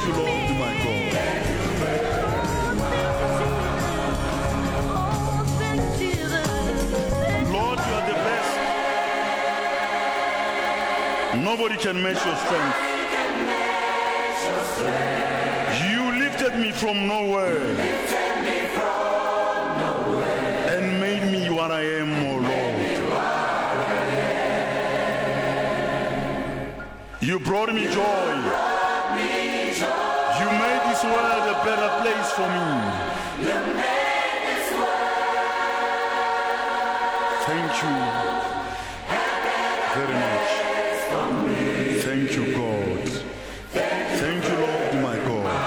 you, Lord, my God. Lord, you are the best. Nobody can match your strength. You lifted me from nowhere and made me what I am, oh Lord. You brought me joy. You made this world a better place for me. Thank you very much. Thank you, God. Thank you, Lord, my God.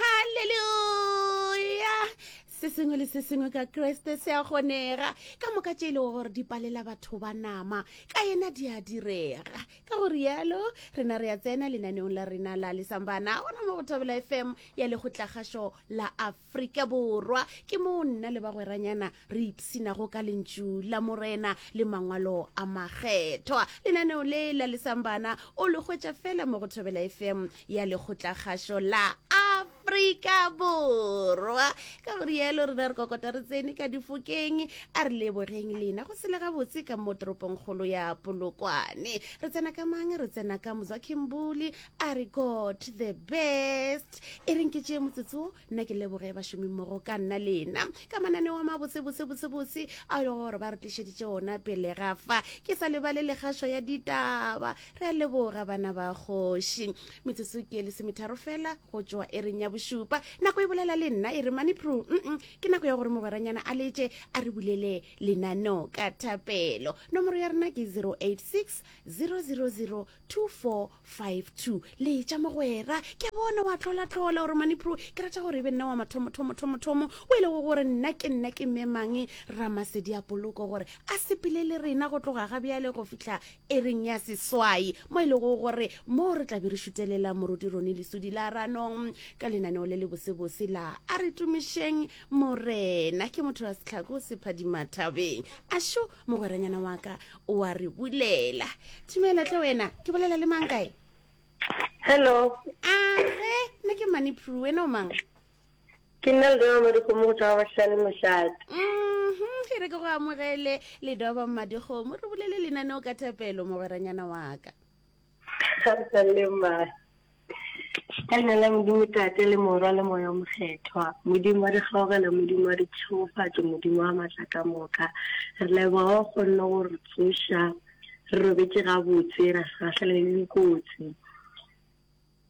Hallelujah! Se sengwe le se sengwe ka Kriste se a kgonega. Ka moka tše e lego gore di palela batho ba nama, ka yena di a direga. Ka go rialo, rena re a tsena lenaneong la rena la Lesambana, gona mo go Thobela FM ya Lekgotlakgašo la Afrika Borwa. Ke moo nna le bagweranyana re ipshinago ka Lentšu la Morena le Mangwalo a Makgethwa. Lenaneo le la Lesambana o le hwetša fela mo go Thobela FM ya Lekgotlakgašo la Afrika Borwa. Ka go rialo rena re kokota re tsene ka difokeng, a re lebogeng lena go sele gabotse ka mo toropongkgolo ya Polokwane. Re tsena ka mang? Re tsena ka Mzwakhe Mbuli a re God the best. E reng ke tšee motsotso nna ke leboge bašomimmogo ka nna lena ka mananeo a mabotse botse botse botse a e lego gore ba re tlišeditše ona pele ga fa. Ke sa lebale legašo ya ditaba. Re a leboga bana ba kgoši. Metsotso ke lesometharo fela go tšwa ereng ya bošupa. Nako e bolela le nna e re mane pro. Mm ke nako ya gore mogweranyana a letše a re bulele lenaneo ka thapelo. Nomoro ya rena ke 086 000 2452. Letša mogwera, ke a bona wa tlolatlola gore mane pro ke rata gore e be nna wa mathomo thomo thomo thomo o e lego gore nna ke nna ke mme mang Ramasedi a poloko gore a sepele le rena go tloga ga bjale go fihla Ereng ya seswai, mo e lego gore mo re tla be re šutelela Moruti Ronnie Lesudi la Ranong ka lenaneo le le bosebose la A re Tumišeng Morena. Ke motho wa sehlako se phadima thabeng. Ašo, mogweranyana wa ka o a re bulela. Thumela tle wena, ke bolela le mang kae? Hello. Age, nna ke Mani Prue, wena o mang? Ke nna Ledoba Madikgomo go tšwa Bahlane Mošate. Mhm, e re ke go amogele Ledoba Madikgomo, re bolele lenaneo ka thapelo mogweranyana wa ka. Le mma. Ka leina la Modimo Tate le Morwa le Moya o Mokgethwa, Modimo wa dikgaogelo, Modimo wa ditšhegofatšo, Modimo wa maatla ka moka, re leboga o kgonne go re tsoša re robetše gabotse ra se gahlane le dikotsi.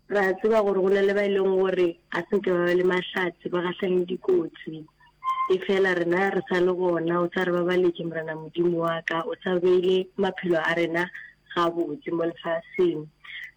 Re a tseba gore go na le ba e leng gore ga se nke ba ba le mahlatse, ba gahlane le dikotsi. Efela rena re sa le gona, o sa re babaletše, Morena Modimo wa ka, o sa beile maphelo a rena gabotse mo lefaseng.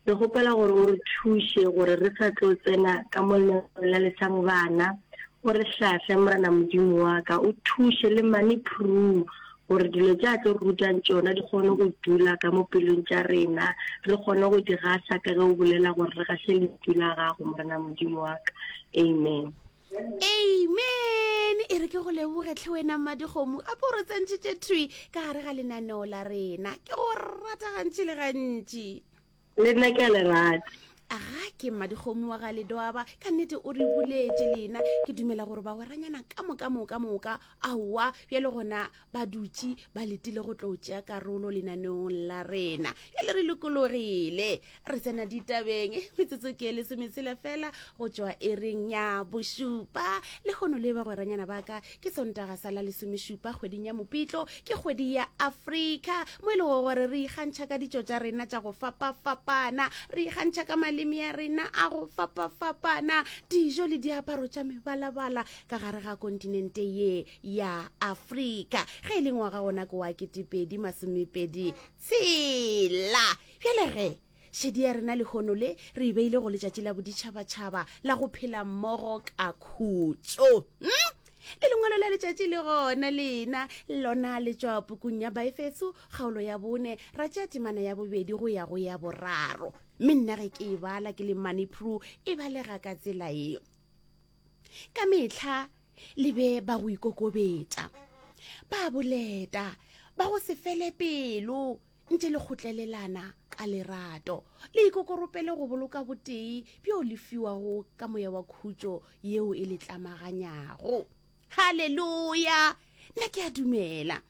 Re kgopela gore o re thuše gore re sa tlo tsena ka mo lenaneong la Lesang Bana, o re hlahle, Morena Modimo wa ka, o thuše le Mane Prue gore dilo tše a tlo re rutang tšona di kgone go dula ka mo pelong tša rena, re kgone go di gasa ka ge o bolela gore re gase lentšu la gago, Morena Modimo wa ka. Amen. Amen. E re ke go leboge tlhe wena Mmadikgomo, gape o re tsentšhitše thwi ka gare ga lenaneo la rena. Ke go rata gantši le gantši. Le nna ke a le rata. Aga ke Mmadikgomo wa ga Ledwaba, ka nnete o re buletše lena. Ke dumela gore bagweranyana ka moka moka moka aowa bjale gona ba dutše ba letile go tlo tšea karolo lenaneong la rena. Bjale re lokologile, re tsena ditabeng. Metsotso ke lesometshela fela go tšwa ereng ya bošupa. Lehono le bagweranyana ba ka ke Sontaga sa la lesomešupa kgweding ya Mopitlo, ke kgwedi ya Afrika, mo e lego gore re ikgantšha ka ditšo tša rena tša go fapafapana, re ikgantšha ka maleme a rena a go fapafapana, dijo le diaparo tša mebalabala ka gare ga kontinente ye ya Afrika. Ge e le ngwaga ona ke wa 2026. Bjale ge Šedi ya rena lehono le re e beile go letšatši la boditšhabatšhaba la go phela mmogo ka khutšo. Hmm? Le lengwalo la letšatši le gona lena lona le tšwa pukung ya Baefeso kgaolo ya bone ra tšea temana ya bobedi go ya go ya boraro. Mme nna ge ke e bala ke le Manipru e balega ka tsela ye. Ka mehla le be ba go ikokobetša, ba boleta, ba go se fele pelo, ntše le kgotlelelana. ka lerato. Le ikokoropele go boloka botee bjo le fiwago ka moya wa khutšo yeo e le tlamaganyago. Haleluya! Nna ke a dumela.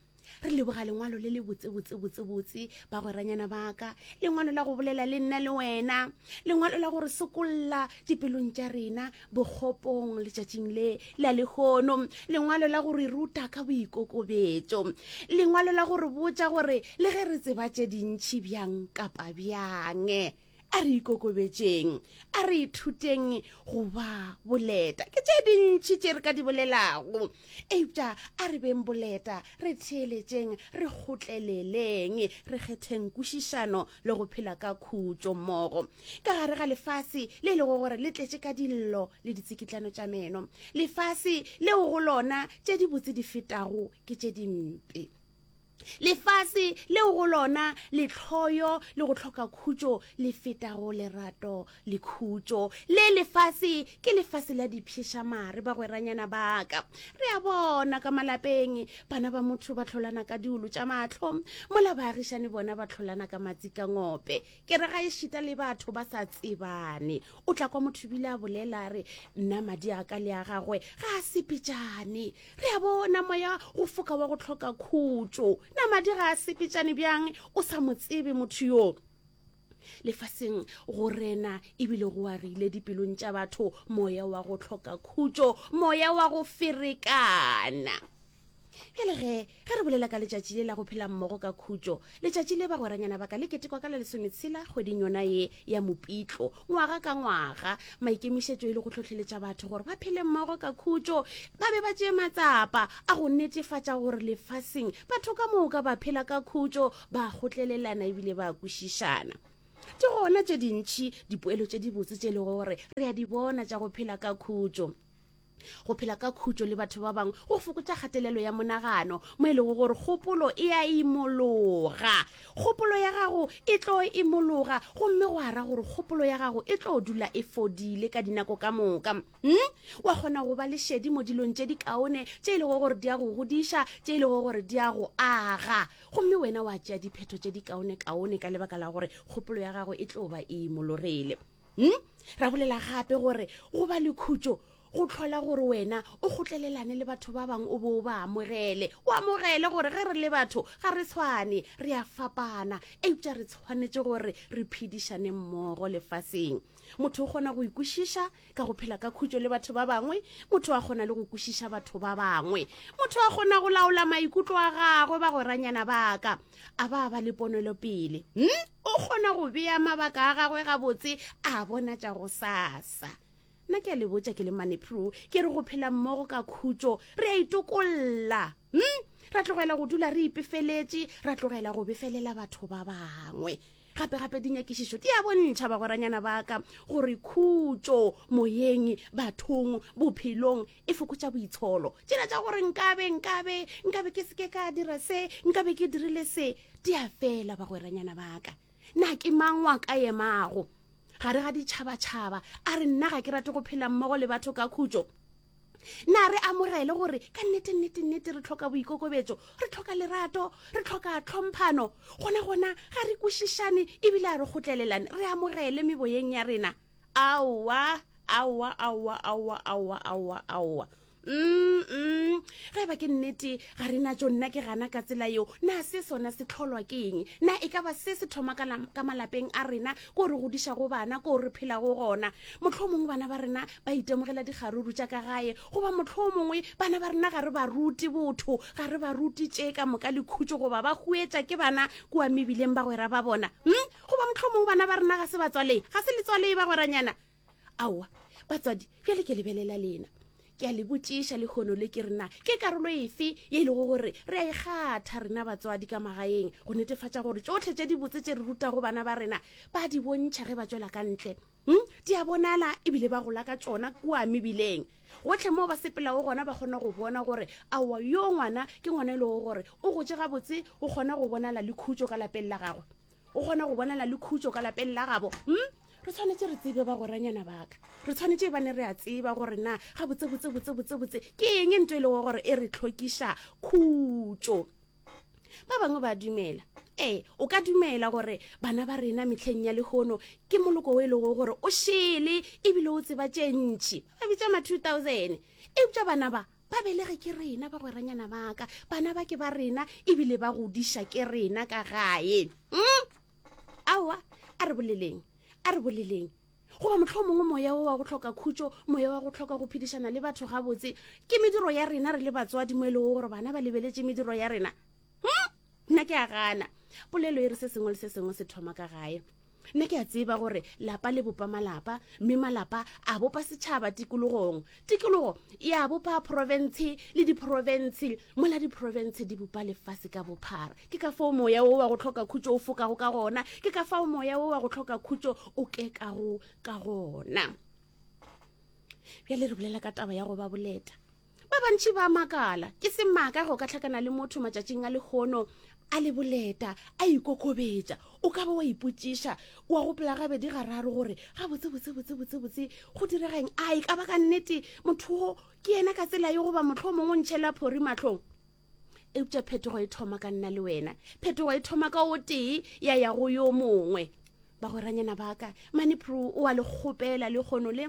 Re leboga lengwalo le le botse botse botse botse, bagweranyana ba ka, lengwalo la go bolela le nna le wena, lengwalo la go re sokolla dipelong tša rena bokgopong letšatšing le la lehono, lengwalo la go re ruta ka boikokobetšo, lengwalo la go re botša gore le ge re tseba tše dintši bjang kapa bjang, A re ikokobetšeng, a re ithuteng go ba boleta. Ke tše dintši tše re ka di bolelago, eupša a re beng boleta, re theeletšeng, re kgotleleleng, re kgetheng kwešišano le go phela ka khutšo mmogo. Ka gare ga lefase le e lego gore le tletše ka dillo le ditsikitlano tša meno, lefase leo go lona tše dibotse di fetago ke tše dimpe. Lefase leo go lona lehloyo le go hloka khutšo le fetago lerato le khutšo. Le lefase ke lefase la dipšhešamare, bagweranyana ba ka. Re a bona ka malapeng, bana ba motho ba hlolana ka diolo tša mahlo, mola baagišani bona ba hlolana ka matsikangope. Ke re ga ešita le batho ba sa tsebane. O tla kwa motho bile a bolela a re, Nna madi a ka le a gagwe ga a sepetšane. Re a bona moya go foka wa go hloka khutšo. Na madi ga a sepetšane bjang o sa mo tsebe motho yo? Lefaseng go rena ebile go agile dipelong tša batho moya wa go hloka khutšo, moya wa go ferekana. Bjale ge, ge re bolela ka letšatši le la go phela mmogo ka khutšo, letšatši le bagweranyana ba ka le ketekwa ka la lesometshela kgweding yona ye ya Mopitlo, ngwaga ka ngwaga. Maikemišetšo e le go hlohleletša batho gore ba phele mmogo ka khutšo, ba be ba tšee matsapa a go netefatša gore lefaseng batho ka moka ba phela ka khutšo, ba kgotlelelana ebile ba kwešišana. Ke gona tše dintši dipoelo tše dibotse tše e lego gore re a di bona tša go phela ka khutšo. Go phela ka khutšo le batho ba bangwe go fokotša kgatelelo ya monagano, mo e lego gore kgopolo e a imologa. Kgopolo ya gago e tlo imologa gomme go a ra gore kgopolo ya gago e tlo dula e fodile ka dinako ka moka. Hmm? Wa kgona go ba le šedi mo dilong tše di kaone tše e lego gore di a go godiša, tše e lego gore di a go aga. Gomme wena wa tšea diphetho tše di kaone-kaone ka lebaka la gore kgopolo ya gago e tlo ba e imologile. Hm? Ra bolela gape gore go ba le khutšo go hlola gore wena o kgotlelelane le batho ba bangwe o be o ba amogele. O amogele gore ge re le batho ga re tshwane, re a fapana, eupša re tshwanetše gore re phedišane mmogo lefaseng. Motho o kgona go ikwešiša ka go phela ka khutšo le batho ba bangwe, motho a kgona le go kwešiša batho ba bangwe. Motho a kgona go laola maikutlo a gagwe, bagweranyana ba ka. A ba ba le ponelopele. Hm? O kgona go bea mabaka a gagwe gabotse, a bona tša gosasa. Nna ke a le botša ke le Manepru, ke re go phela mmogo ka khutšo, re a itokolla. Hm? Ra tlogela go dula re ipefeletše, ra tlogela go befelela batho ba bangwe. Gape-gape dinyakišišo di a bontšha, bagweranyana ba ka, gore khutšo moyeng, bathong, bophelong e fokotša boitsholo. Tšela tša gore nkabe, nkabe, nkabe ke se ke ka dira se, nkabe ke dirile se, di a fela, bagweranyana ba ka. Na ke mang wa ka emago gare ga ditšhabatšhaba a re nna ga ke rate go phela mmogo le batho ka khutšo? Na re amogele gore ka nnete, nnete, nnete re hloka boikokobetšo, re hloka lerato, re hloka tlhomphano? Gona, gona ga re kwešišane ebile a re kgotlelelane, re amogele meboyeng ya rena? Aowa, aowa, aowa, aowa, aowa, aowa, aowa. Mm, mm. Ge eba ke nnete ga re natšo, nna ke gana ka tsela yeo. Na se sona se hlolwa ke eng? Na e ka ba se se thoma ka, ka malapeng a rena, ko re godišago bana, ko re phelago gona? Mohlomongwe bana ba rena ba itemogela dikgaruru tša ka gae, goba mohlomongwe bana ba rena ga re ba rute botho, ga re ba rute tše ka moka le khutšo, goba ba huetša ke bana kua mebileng bagwera ba bona. Hm? Goba mohlomongwe bana ba rena ga se batswalei, ga se letswalei bagweranyana. Aowa, batswadi, bjale ke lebelela lena. Ke a le botšiša lehono le ke re na ke karolo efe ye e lego gore re a e kgatha rena batswadi ka magaeng go netefatša gore tšohle tše dibotse tše re rutago bana ba rena ba di bontšha ge ba tšwela ka ntle? Hm? Di a bonala ebile ba gola ka tšona kua mebileng. Gohle moo ba sepelago gona ba kgona go bona gore aowa yo ngwana ke ngwana e lego gore o gotše gabotse, o kgona go bonala le khutšo ka lapeng la gagwe. O kgona go bonala le khutšo ka lapeng la gabo. Hm? Re tshwanetše re tsebe bagweranyana ba ka. Re tshwanetše e bane re a tseba gore na ga botse botse botse botse botse ke eng ntho e lego gore e re tlhokiša khutšo. Ba bangwe ba dumela. Ee, o ka dumela gore bana ba rena mehleng ya lehono ke moloko o e lego gore o šele ebile o tseba tše ntši. Ba bitša ma 2000. Eupša bana ba ba belege ke rena bagweranyana ba ka. Bana ba ke ba rena ebile ba godiša ke rena ka gae. Mm? Aowa, a re boleleng. A re boleleng. Goba mohlomongwe moya wo wa go hloka khutšo, moya wa go hloka go phedišana le batho gabotse, ke mediro ya rena re le batswadi mo e lego gore bana ba lebeletše mediro ya rena. Hm? Nna ke a gana. Polelo e re se sengwe le se sengwe se thoma ka gae. Nna ke a tseba gore lapa le bopa malapa, mme malapa a bopa setšhaba tikologong. Tikologo ya bopa profense le diprofense, mola diprofense di bopa lefase ka bophara. Ke ka fao moya wo wa go hloka khutšo o fokago ka gona, ke ka fao moya wo wa go hloka khutšo o kekago ka gona. Bjale re bolela ka taba ya go ba boleta. Ba bantši ba makala, ke semaka go ka hlakana le motho matšatšing a lehono a le boleta, a ikokobetša. O ka ba wa ipotšiša, wa gopola gabedi gararo gore gabotse botse botse botse botse go direga eng? A e ka ba ka nnete motho wo ke yena ka tsela ye goba mohlomongwe o ntšhela phori mahlong? Eupša phetogo e thoma ka nna le wena. Phetogo e thoma ka o tee ya ya go yo mongwe. Bagweranyana ba ka, Manipro o a le kgopela lekgono le.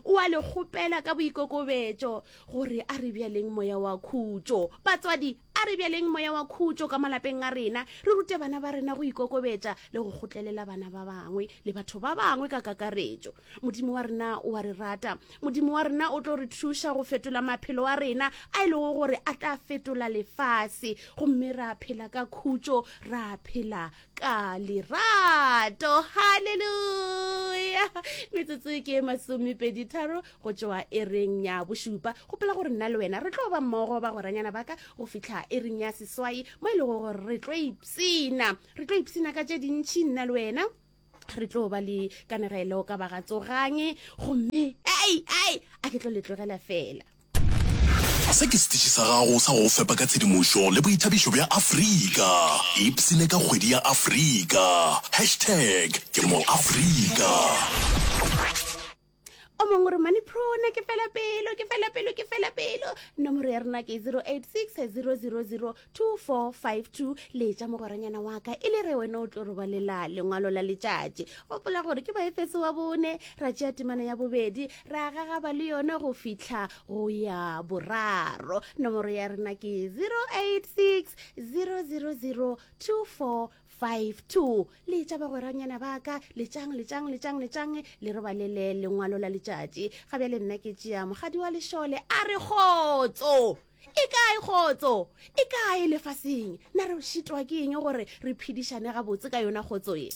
O a le kgopela ka boikokobetšo gore a re bjaleng moya wa khutšo. Batswadi, a re bjaleng moya wa khutšo ka malapeng a rena, re rute bana ba rena go ikokobetša le go kgotlelela bana ba bangwe le batho ba bangwe ka kakaretšo. Modimo wa rena o a re rata. Modimo wa rena o tlo re thuša go fetola maphelo a rena a e lego gore a tla fetola lefase gomme ra phela ka khutšo, ra phela ka lerato haleluya metsotso ke masomepeditharo go tšwa ereng ya bošupa gopola gore nna le wena re tlo ba mmogo ba goranyana ba ka go fihla ereng ya seswai mo e lego gore re tlo ipsina re tlo ipsina ka tše dintšhi nna le wena re tlo ba le kanegelo ka bagatsogange gomme ai ai a ke tlo le tlogela fela Se ke setiši sa gago sa go go fepa ka tshedimošo le boithabišo bja Afrika. Ipshine ka kgwedi ya Afrika. Hashtag ke mo Afrika. O mongwe re mane prona ke fela pelo ke fela pelo ke fela pelo nomoro ya rena ke 086 000 2452 letša mogweranyana wa ka e le re wena o tlo robalela lengwalo la letšatši gopola gore ke baefeso wa bone ra tšea temana ya bobedi ra gagaba le yona go fihla go ya boraro nomoro ya rena ke 086 000 2452 letša bagweranyana ba ka letšang letšang letšang letšang le robalele lengwalo la letšatši ga bjale nna ke tšea mogadi wa lešole a re kgotso E kae kgotso? E kae lefaseng? Na re šitwa ke eng gore re phedišane gabotse ka yona kgotso ye?